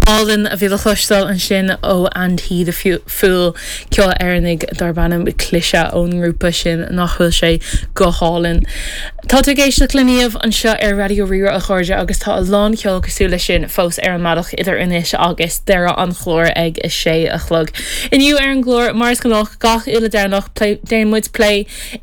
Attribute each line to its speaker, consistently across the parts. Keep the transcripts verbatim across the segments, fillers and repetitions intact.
Speaker 1: Álainn a bhí le cloisteáil ansin ó And He the Fool ceol Éireannach darb ainm Cliseadh ón ngrúpa sin nach bhfuil sé go hálainn. Tá tú ag éisteacht le Niamh anseo ar Raidió Rí-Rá a chairde agus tá a lán ceol cosúil leis sin fós ar an mbealach idir anois agus deireadh an chláir ag a sé a chlog. Inniu ar an gclár mar is gnách gach uile Domhnach déanann muid plé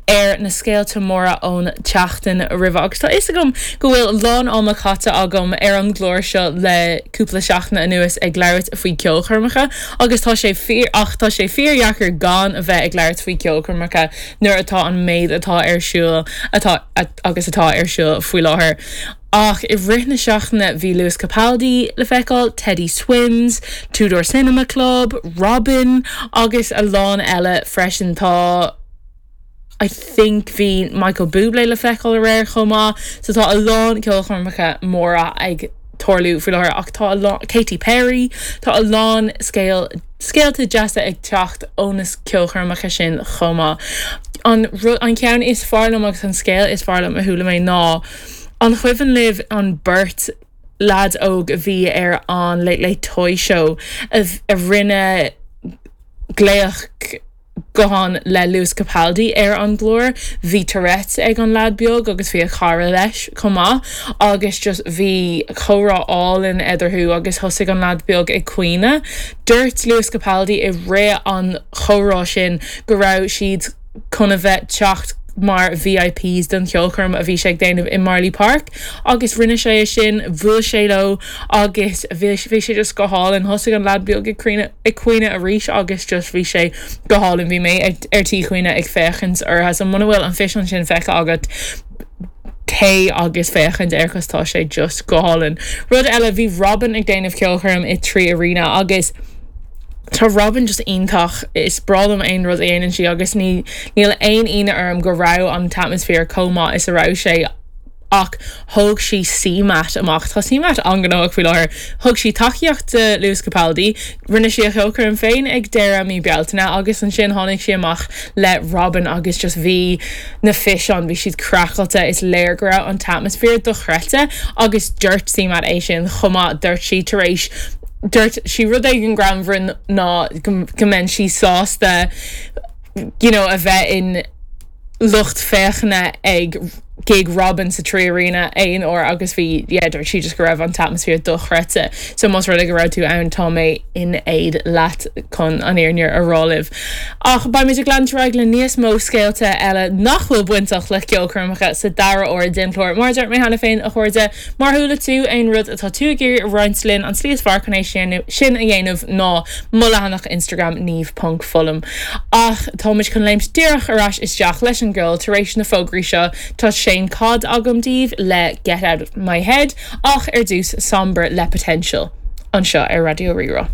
Speaker 1: ar na scéalta móra ón tseachtain roimhe agus tá fhios agam go bhfuil a lán ama caite agam ar an gclár seo le cúpla seachtain anuas ag labhairt faoi ceolchoirmeacha agus tá sé fíor ach tá sé fíordheacair gan a bheith ag labhairt faoi ceolchoirmeacha nuair atá an méid atá ar siúl atá agus atá ar siúl faoi láthair. Ach i rith na seachtaine bhí Lewis Capaldi le feiceáil, Teddy Swims, Two Door Cinema Club, Robyn agus a lán eile freisin tá I think bhí Michael Bublé le feiceáil aréir chomh maith, so tá a lán ceolchoirmeacha móra ag tarlú faoi láthair ach tá a lán Katy Perry tá a lán scéal scéalta deasa ag teacht ó na ceolchoirmeacha sin chomh maith. An an ceann is fearr liom agus an scéal is fearr liom a chuala mé ná an cuimhin libh an beirt leaid óg a bhí ar an Late Late Toy Show a, a rinne glaoch gutháin le Lewis Capaldi ar an gclár, bhí Tourette ag an leaid beag agus bhí a chara leis chomh maith agus just bhí comhrá álainn eadarthu agus thosaigh an leaid beag ag caoineadh. Dúirt Lewis Capaldi i rith an chomhrá sin go raibh siad chun a bheith teacht mar VIPs don cheolchoirm a bhí sé ag déanamh i Marlay Park agus rinne sé é sin bhuail sé leo agus bhí bhí sé just go hálainn thosaigh an leaid beag ag caoineadh ag caoineadh arís agus just bhí sé go hálainn bhí mé ar tí caoineadh ag féachaint orthu so muna bhfuil an físeán sin feicthe agat téigh agus féachaint air cos tá sé just go hálainn. Rud eile bhí Robyn ag déanamh ceolchoirm i Three Arena agus Tá Robyn just iontach is breá liom aon rud a dhéanann sí agus ní níl aon ionadh orm go raibh an t-atmaisféar chomh maith is a raibh sé ach thóg sí CMAT amach Tá CMAT an-ghnóthach faoi láthair. Thug sí tacaíocht do Lewis Capaldi, rinne sí a cheolchoirm féin ag deireadh mí Bealtaine agus ansin tháinig sí amach le Robyn agus just bhí na físeáin bhí siad craiceáilte is léir go raibh an t-atmaisféar dochreidte agus dúirt CMAT é sin chomh maith dúirt sí tar éis dúirt sí rud éigin greannmhar ná go mbeidh sí sásta you know, a bheith in lucht féachana ag gig Robyn sa Three Arena aon uair agus bhí yeah, dúirt sí just go raibh an t-atmaisféar dochreidte so más rud é go raibh tú ann tá mé in éad leat chun an fhírinne a rá libh. Ach beimid ag leanúint le níos mó scéalta eile nach bhfuil bainteach le ceolchoirmeacha sa dara huair den chlár mar dúirt mé cheana féin a chairde má chuala tú aon rud atá tú ag iarraidh a roinnt linn an slí is fearr chun é sin sin a dhéanamh ná mo leathanach Instagram niamh.fullam. Ach táimid chun léimt díreach ar ais isteach leis an gceol tar éis na fógraí seo tá Shane Codd agam daoibh le Get Out of My Head ach ar dtús Sombr le Potential anseo ar Raidió Rí-Rá.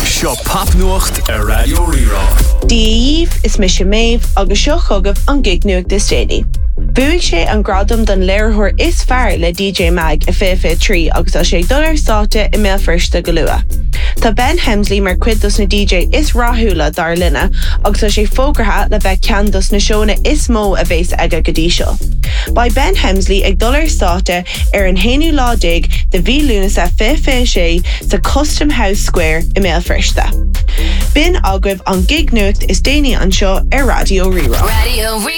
Speaker 2: Seo popnuacht ar Raidió Rí-Rá.
Speaker 3: Dia daoibh is mise Méabh agus seo chugaibh an gig nuacht is déanaí. Bhuaigh sé an gradam don léiritheoir is fearr le DJ Mag i fiche fiche trí agus tá sé ag dul ar stáitse i mBéal Feirste go luath. Tá Ben Hemsley mar chuid dos na DJ is rathúla dár linne agus tá sé fógartha le bheith ceann dos na seónna is mó a bheas aige go dtí seo. Beidh Ben Hemsley ag dul ar stáitse ar an haonú lá déag de mhí Lúnasa fiche fiche sé sa Custom House Square i mBéal Feirste. B'in agaibh an gig nuacht is déanaí anseo ar Raidió Rí-Rá.
Speaker 4: Radio